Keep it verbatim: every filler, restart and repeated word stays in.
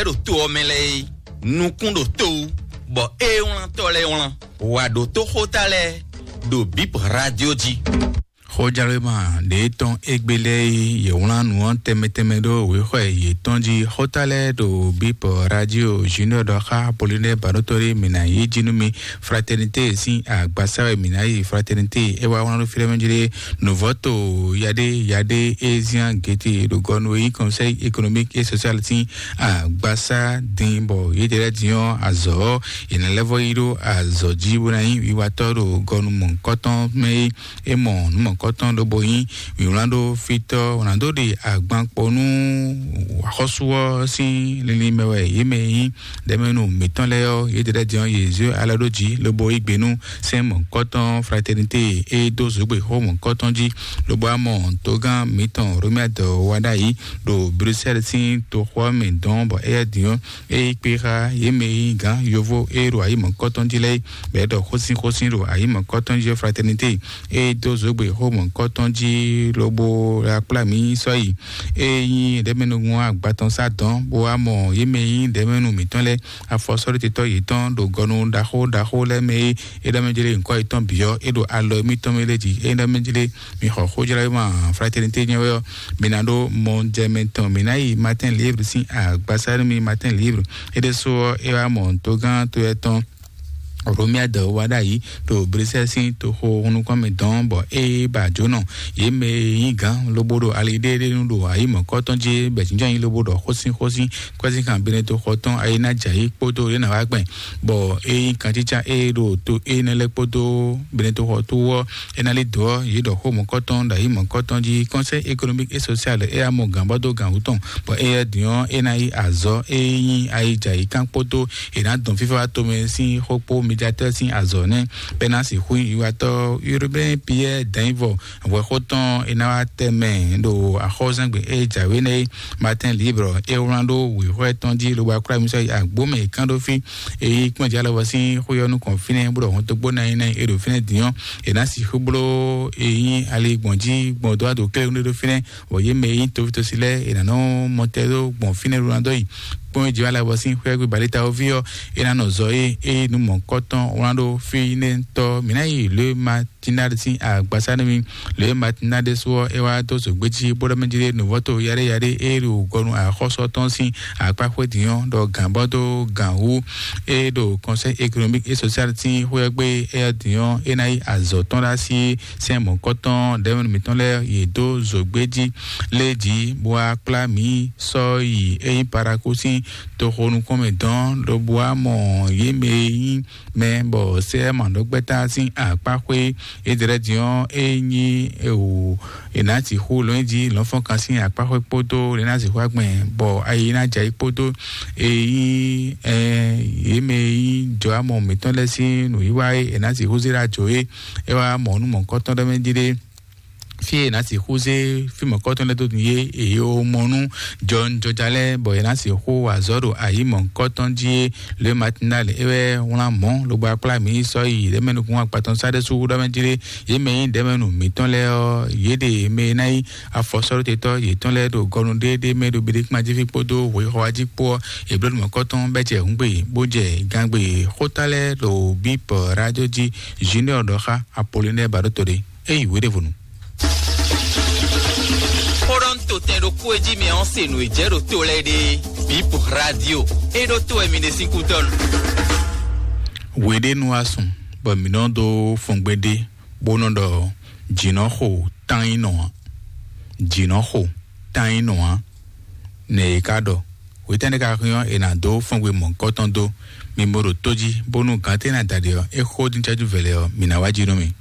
ɖo to ɔ́ mɛ lɛ́ɛ é, nukún ɖo to wú, bɔ ée wlántɔ́ lɛ́ɛ wlán. Wǎ ɖó tó xóta lɛ́ɛ ɖo Bip Radio jí. Xójálwéma ɖě tɔn égbé lɛ́ɛ é, yě wlán nǔ ɔ́ tɛnmɛ tɛnmɛ ɖó wěxɔ yětɔn jí. Xóta lɛ́ɛ ɖo Bip Radio Junior ɖɔ xá Apollinaire Baɖótɔ́ ɖé mǐ ná yí jí nú mi. Fraternité sín agbasa wɛ mǐ ná yi. Fraternité é wá wlán ɖó fí ɖé mɛ jí ɖé. Nǔvɔ́to yaɖé yaɖé é zián gěte ɖo gɔnu e nyí Conseil économique et social sín agbasa dín, bɔ yědɛɛ lɛ́ɛ din ɔ́, azɔ̌ ɔ́, yě ná lɛ́ vɔ yi ɖó azɔ̌ jí bó ná nyí wiwatɔ́ ɖo gɔnu mɔ̌hunkɔtɔn mɛ é. É mɔ nǔ mɔ̌hunkɔtɔn lobo nyí wǐwlán ɖó fítɔ́ wǎn dó ɖe agban kpo nú axɔ́sú ɔ́ sín linlin mɛ wɛ yě mɛ e nyí ɖɛ̌mɛnu mǐtɔn lɛ́ɛ ɔ́, yědɛɛ lɛ́ɛ din ɔ́, yě zé alɔ ɖó jǐ lobo yí gbe nú sɛ́n mɔ̌hunkɔtɔn Fraternité e dó zǒgbé xó mɔ̌hunkɔtɔn jí, lobo wá mɔ togán mǐtɔn Romuald Wadagni ɖo Bruxelles sín toxo ɔ́ mɛ dɔn, bɔ éyɛ́ din ɔ́, é yí kpé xá yě mɛ e nyí gǎn yovo e ɖo ayǐ mɔ̌hunkɔtɔn jí lɛ́ɛ, bɔ é ɖɔ xósin xósin ɖo ayǐ mɔ̌hunkɔtɔn jí ɔ́, Fraternité e dó zǒgbé xó mɔ̌hunkɔtɔn jí lobo akplá mǐ sɔ́ yi. É nyí ɖɛ̌mɛnu agbatɔn sá dɔn, bó wá mɔ yě mɛ e nyí ɖɛ̌mɛnu mǐtɔn lɛ́ɛ, afɔsɔ́ɖótetɔ́ yětɔn ɖo gɔnu ɖaxó ɖaxó lɛ́ɛ mɛ e é ɖɔ mɛ jlé nyǐkɔ yětɔn bǐ ɔ́, é ɖo alɔ émítɔn mɛ lɛ́ɛ jí. É ɖɔ mɛ jlé mi xɔ xójlɔ́yímɔ Fraternité nyɛ wɛ ɔ́, mi ná ɖó mɔ jɛ mɛ tɔn, mi ná yi Martin Libre sín agbasa nú mi. Martin Libre é ɖésú ɔ́, é wá mɔ togán to ɛtɔn Romuald Wadagni ɖo Bruxelles sín toxo nukɔn mɛ dɔn, bɔ é ba jǒnɔ yě mɛ e nyí gǎn lobo ɖo ali ɖéeɖée nu ɖo ayǐ mɔ̌kɔtɔn jí, bɔ jǐnjɔ́n nyi lobo ɖɔ xósin xósin kɔ́síkan Benedikto xɔ tɔn ayé ná jɛ ayǐ kpódó yě ná wá gbɛn, bɔ é nyí kantítsá e ɖo to énɛ́ lɛ́ɛ kpódó Benedikto xɔ tó ɔ́, é ná lí dǒ ɔ́, yě ɖɔ xó mɔ̌kɔtɔn ɖo ayǐ mɔ̌kɔtɔn jí. Conseil économique et social é yá mɔ gǎn bɔ dó gǎn wú tɔn, bɔ éyɛ́ din ɔ́, é ná yí azɔ̌ e nyí ayijǎyíkan kpódó è nǎ dɔn fífá wá tomɛ sín xó kpó médiatɛ́ sín azɔ̌ nɛ́, bɔ é ná sixú nyí wiwatɔ́ Urbain Pierre Danyivɔ hwɛxó tɔn. É ná wá tɛmɛ ɖo axɔ́zɛ́ngbe e jǎwe nɛ́ é. Martin Libre é wlán ɖó wěxwɛ́ tɔn jí lobo akwlá mi sɔ́ yi agbó mɛ è kán ɖó fí. É yí kpɔ́n jǎ lɔbɔ sín xó ɔ́ nukɔn fínɛ́ bó ɖɔ hɔn dó gbó ná nyí ná nyí é ɖo fínɛ́ din ɔ́, è nǎ sixú bló é nyí ali gbɔn jí gbɔn dó wá ɖo kɛ́ɖɛ́ ɖó fínɛ́, bɔ yě mɛ e nyí tovítosi lɛ́ɛ è nǎ nɔ mɔ tɛ ɖó gbɔn fínɛ́ ɖó ná dó yi. Kpɔ́n é jǐ wá lɛ́ bɔ sín xwé gbé balíta ɔ́ ví ɔ́, é ná nɔ zɔ é é nú mɔ̌kɔtɔn wlán ɖó fínɛ́tɔ́ mǐ ná yi lě ma Tinade sín agbasa nú mi. Lě ma Tinade sú ɔ́, é wá dó zǒgbé jí bó ɖɔ mɛ jí ɖé nǔvɔ́to yaɖé yaɖé é ɖo gɔnu axɔ́sɔ tɔn sín akpá xwé din ɔ́, ɖɔ gǎn bɔ dó gǎn wú é ɖo Conseil économique et social sín xwé ɔ́ gbé. É ɔ́ din ɔ́, é ná yí azɔ̌ tɔn ɖó así sɛ́n mɔ̌kɔtɔn ɖɛ̌mɛnu mǐtɔn lɛ́ɛ yě dó zǒgbé jí lé jí, bó wá kplá mǐ sɔ́ yi é nyí Paraku sín toxo nukɔn mɛ dɔn, lobo wá mɔ yě mɛ e nyí mɛ bɔ sɛ́ mǎɖɔgbɛ́ta sín akpáxwé. Edrɛ́ din ɔ́, é nyí ewu è nǎ sixú lɔn jí lɔ̌nfɔ́nkan sín akpáxwé kpódó lě ná sixú agbɛn, bɔ ayi ná jɛ ayǐ kpódó e nyí ɛ yě mɛ e nyí jɔ̌amɔ mǐtɔn lɛ́ɛ sín nǔwiwa e è nǎ sixú zé ɖó ajǒ é. É wá mɔ nú mɔ̌kɔtɔn ɖɔ mɛ jí ɖé, fí e è nǎ sixú zé fí mɔ̌kɔtɔn lɛ́ɛ dó nú yé, è yi mɔ nú jɔnjɔja lɛ́ɛ, bɔ è nǎ sixú wa azɔ̌ ɖo ayǐ mɔ̌kɔtɔn jí é. Le Matinal é wɛ wlán mɔ̌ lobo akplá mǐ sɔ́ yi ɖɛ̌mɛnukún akpatɔn sá ɖésú ɖɔ mɛ jí ɖé. Yě mɛ nyí ɖɛ̌mɛnu mǐtɔn lɛ́ɛ ɔ́, yě ɖe mɛ e ná nyí afɔsɔ́ɖótetɔ́ yětɔn lɛ́ɛ ɖo gɔnu ɖéeɖée mɛ ɖo Beɖekpán jí fí kpódó hwexɔwá jí kpó ɔ́, è bló nǔ mɔ̌kɔtɔn bɛ́ jɛ hǔngbe bó jɛ gangbe xóta lɛ́ɛ ɖo Bíp Rádió jí. Junior ɖɔ xá Apollinaire Baɖótɔ́ ɖé. É yi wěɖévonu. Xó ɖɔ un to tɛn ɖokpó e jí mɛ ɔ́ se nǔ e jɛ ɖo to lɛ́ɛ ɖe. Bíp Rádió é ɖó to wɛ mi ɖe sín kútɔ́nu. Wěɖénu wá sùn, bɔ mǐ nɔ dó fɔngbe ɖé, bó nɔ ɖɔ jǐnɔxo tán nyí nɔ ǎ. Jǐnɔxo tán nyí nɔ ǎ. Nɛ è ka ɖɔ, hwetɛ́nɛ́ ka hɛn ɔ́, è nǎ dó fɔngbe mɔ̌kɔtɔn dó. Mi bo ɖo tó jí, bónú gǎn tɛ́ ná da ɖe ɔ́, é xó dín cɛ́jú vɛlɛ ɔ́, mǐ ná wá jí nú mi.